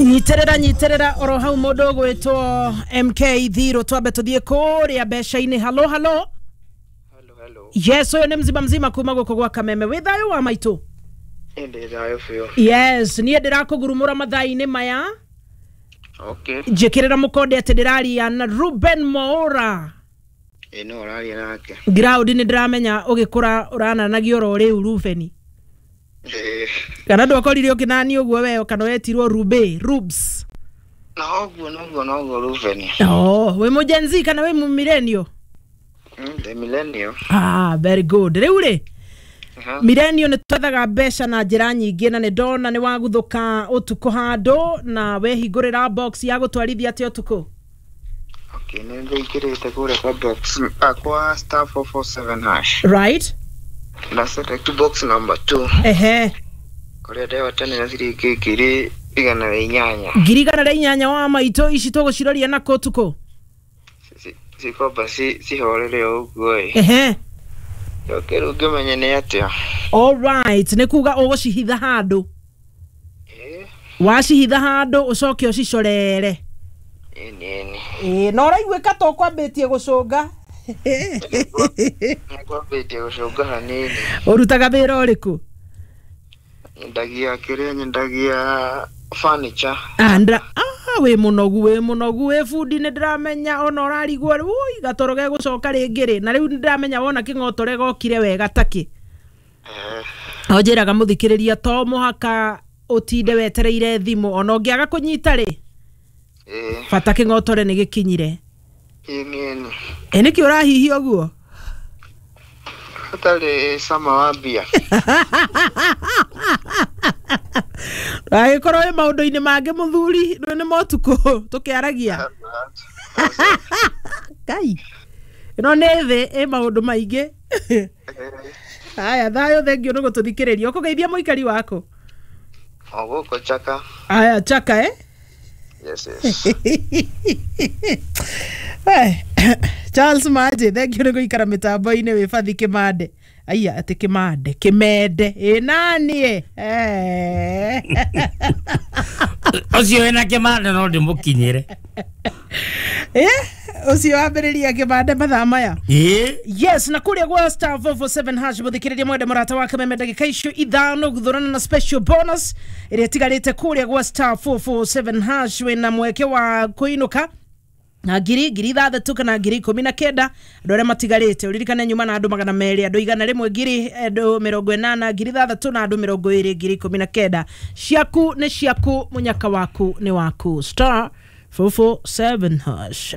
Nyiterera nyiterera oro hau mundu gwitwo MK Thiro twambe tuthie kuria mbeca-inĩ. Halo halo. Hello, hello. Yes, uyu ni mzima mzima kuma guku gwa Kameme. Wi thayo wa maitu? Ĩndĩ thayũ biũ. Yes, niĩ ndĩrakũgurumũra mathaa-inĩ maya. Okay. Njĩkĩrĩra mũkonde atĩ ndĩraria na Ruben Mwaura. Ĩ no ũraria nake. Ground nĩ ndĩramenya ũgĩkũra ũrananagio oro rĩu Rubeni. Ĩ. Kana ndwakorire ũkĩnani ũguo weo kana wetirwo Rube, Rubes. Noguo noguo noguo Rubeni. Oh, wĩ mũ Gen Z kana wĩ mũ millennial? The millennial. Ah, very good. Rĩu rĩ, Aha. millennial nĩ twethaga mbeca na njĩra nyingĩ na nĩ ndona nĩ waguthũka ũtukũ handũ na wehingũrĩra box ya gũtwarithia atĩa ũtukũ. Okay, nĩ ndĩingĩrĩte kũrĩa kwa box kwa star 447 hash. Right? Na select box number 2. Ehe. Kũrĩa ndehotanĩra ciringi 108,000. 108,000 wa maitũ ici tũgũciroria nakũ ũtukũ? Cikomba cihorere o ũguo ĩ. Ehe. Njoke rĩu ngĩmenye nĩ atĩa. All right, nĩ kuga ũgũcihitha handũ. Ĩ. Wacihitha handũ ũcoke ũcicorere. Ĩni ĩni. Ĩ, na ũraiguĩka ta ũkwambĩtie gũcũnga. Nĩngwambĩtie gũcũnga hanini. Ũrutaga wĩra ũrĩkũ? Nyendagia kĩrĩa nyendagia furniture. Wĩ mũnogu wĩ mũnogu wĩ bundi nĩ ndĩramenya ona ũrarigwo ui gatoro gegũcoka rĩngĩ rĩ na rĩu nĩ ndĩramenya wona kĩng'otore gokire wega takĩ. O njĩraga mũthikĩrĩria to mũhaka ũtinde wetereire thimũ ona ũngĩaga kũnyita rĩ bata kĩng'otore nĩ gĩkinyire. Ĩni ĩni. Ĩ nĩkĩ ũrahihia ũguo? Hatarĩ cama wa mbia. Agĩkorwo wĩ maũndũ-inĩ mangĩ mũthuri rĩu nĩ motukũ tũkĩaragia. Ngai ĩno nĩ thĩ ĩ maũndũ maingĩ. Aya thayũ, thengio nĩ gũtũthikĩrĩria. Ũkũgeithia mũikari waku? O gũkũ Chaka. Aya Chaka eh? Yes, yes. Charles Maje, thengio nĩ gũikara mĩtambo-inĩ wĩ bathi kĩmande. Aya atĩ kĩmande kĩmende ĩ nani ĩ Ũcio wĩna kĩmande no ndĩmũkinyĩre. Ũcio wambĩrĩria kĩmande mathaa maya. Ĩ. Yes, na kuria gwa star 447 hash muthikiriria mwende murata wa Kameme ndagika icio ithano guthurana na special bonus ĩrĩa ĩtigarĩte kuria gwa star 447 hash wĩna mweke wa kũinũka na ngiri 6,000 kana 19,000 andũ arĩa matigarĩte ũririkane nyuma na andũ 200 andũ 100 ngiri andũ 80 6,000 na andũ 20 19,000 ciaku nĩ ciaku mũnyaka waku nĩ waku star 447 hash.